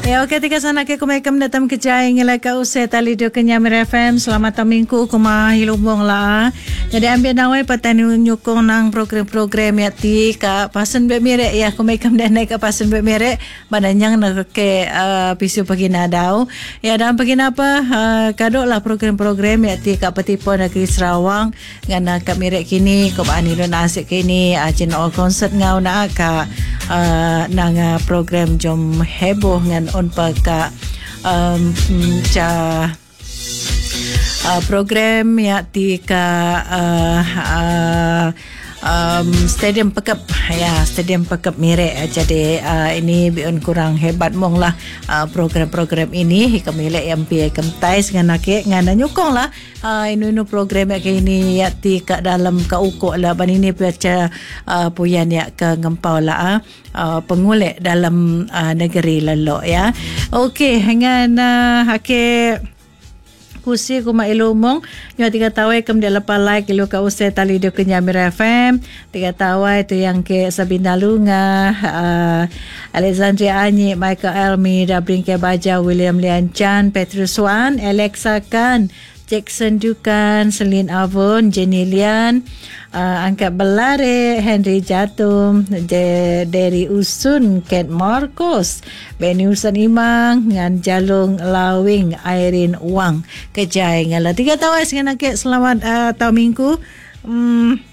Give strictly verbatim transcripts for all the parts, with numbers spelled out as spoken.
Ya okey tiga sana ke kumekam datang kejai ngilai ka usai tali do kenyamir F M. Selamat tahun minggu kumah hilumong lah. Jadi ambil nawai petani nyukong nang program-program ya ti ka pasen be mirek ya kumekam dan naik ka pasen be mirek badanyang nak ke uh, pisu pagi nadau. Ya dan pagi apa uh, kadok lah program-program ya ti ka petipo negeri Sarawak ngana ka mirek kini ko ani do nasik kini acin all concert ngau nak ka uh, nang program jom heboh ngan on paka um, ca uh, program ya ti ka uh, uh, um, Stadium Pekep ya Stadium Pekep Mirek. Jadi uh, ini biun kurang hebat mong lah uh, program-program ini kami lek M P kem tai dengan nak ngana nyukong lah uh, inu inu program ya ini ya ti ka dalam ka ukok lah ban ini baca uh, puyan ya ke ngempau lah uh, pengulek dalam uh, negeri lelok ya. Okey dengan uh, hake kusi kuma ilumong nyo tiga tawai kem dia lepa like ilu ka usai tali dia kenyamir F M tiga tawai tu yang ke Sabina Lunga uh, Alexandria Anyi Michael Elmi Dabrin ke Baja William Lian Chan Petrus Wan Alexa Kan Jackson Dukan Celine Avon Jenny Lian uh, Angkat Belare Henry Jatum De, Derry Usun Ken Marcos Benny Usun Imang ngan Jalung Lawing Irene Wang kejai ngala tiga tawai dengan akik selamat uh, tahun minggu. Hmm,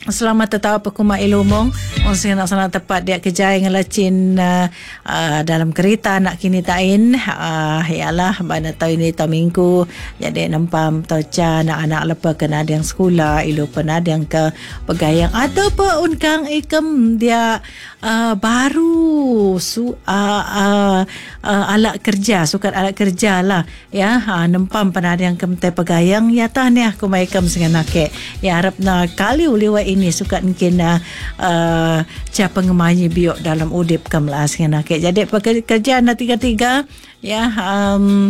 selamat tetap pekuma ilumong on sing nak sana tepat dia kejai ngelacin uh, uh, dalam kereta nak kini tain uh, ialah mana tahu ini tahun minggu jadi nempam toca anak-anak lepa kena ada yang sekolah ilu pernah ada yang ke pegayang atau pe unkang ikem dia uh, baru su uh, uh, uh, alat kerja sukat alat kerja lah ya uh, nempam pernah ada yang kemte pegayang ya tahniah kumaikem dengan nakek ya harap na kali uliwa ini suka mungkin uh, uh, ca pengemanyi biok dalam udip kam lah dengan nakek. Jadi pekerja na tiga-tiga ya um,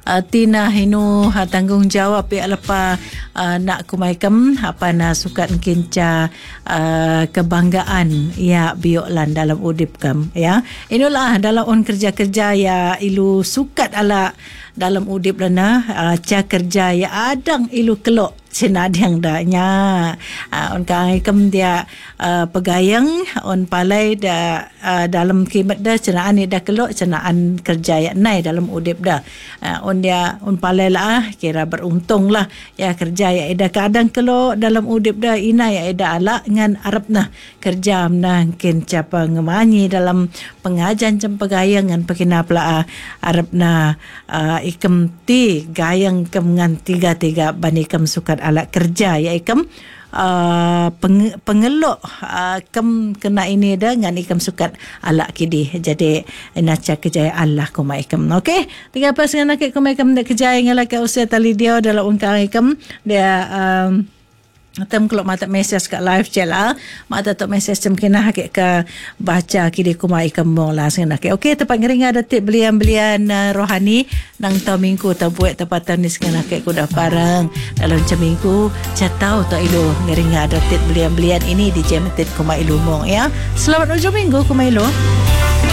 uh, Tina hinu uh, tanggungjawab ya lepa uh, nak kumaikem apa na suka mungkin ca uh, kebanggaan ya biok lan dalam udip kam ya. Inilah dalam on kerja-kerja ya ilu sukat ala dalam udip lana uh, ca kerja ya adang ilu kelok senadang danya uh, on kang ikem dia uh, pegayang on palai da uh, dalam kimat dah cenaan ni dah kelok cenaan kerja ya nai dalam udip dah uh, on dia on palai lah kira beruntung lah ya kerja ya ida kadang kelok dalam udip dah ina ya ida ala ngan arab nah kerja nah kin capa ngemanyi dalam pengajian cem pegayang ngan pekina pla arab nah uh, ikem ti gayang kem ngan tiga-tiga bani kem sukat alat kerja ya ikem uh, peng, pengelok uh, kem kena ini dah ngan ikem sukat alat kidi jadi naca kejayaan Allah kuma ikem. Okey tiga pas ngan nak kuma ikem dak kejayaan ngalak ke usia tali dia dalam ungkang ikem dia um, tem kalau mata mesej kat live je lah mata tok mesej cem kena hakik ke baca kidi kuma ikem mong lah sengena ke. Okey tempat ngering ada tip belian-belian uh, rohani nang tau minggu tau buat tempatan ni sengena ke kuda parang dalam cem minggu catau tok ilu ngering ada tip belian-belian ini di jemetit kuma ilu mong ya. Selamat ujung minggu kuma ilu.